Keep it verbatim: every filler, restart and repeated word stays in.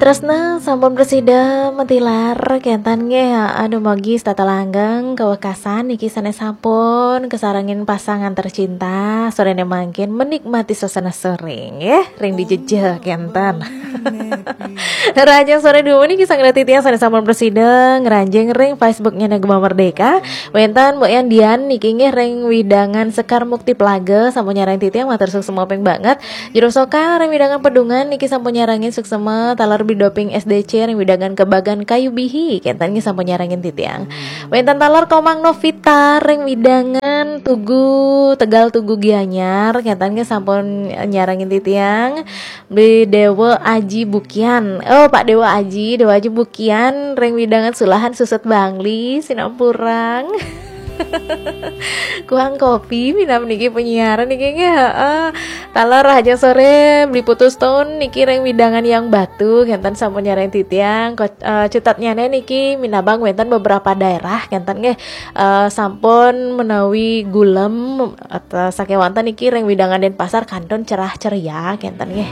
Tresna sampun prasida matilar, kénten nggih. Aduh, mogi setata langgeng kawekasan niki sané sampun kasarengin pasangan tercinta. Soréné mangkin menikmati suasana soré nggih, ring di jejeh kénten. Rahajeng soré dumun niki sareng titiang sané sampun prasida ngranjing ring Facebooknya Gema Merdeka. Wénten Mbok Yandian niki nggih ring wewidangan Sekar Mukti Plaga sampun nyarengin titiang, matur suksma banget. Jero Soka ring wewidangan Pedungan niki sampun nyarengin, suksma. Taler Bidoping S D C ring wewidangan Kebagan Kayu Bihi, kénten nggih sampun nyarengin titiang. Wénten taler Komang Novita ring wewidangan Tugu, Tegal Tugu Gianyar, kénten nggih sampun nyarengin titiang. Beli Dewa Aji Bukian. Oh, Pak Dewa Aji, Dewa Aji Bukian ring wewidangan Sulahan Suset Bangli, Sinampurang. Kuang kopi minab niki penyiaran niki nggih, heeh. Taler Rahajeng soré Beli Putu Stone niki ring wewidangan Yang Batu, kénten sampun nyarengin titiang. Ko-, eh, cutetnyané niki minabang wénten beberapa daerah kénten nggih, eh, sampun menawi gulem atau sakéwanten niki ring wewidangan Denpasar kantun cerah ceria kénten nggih.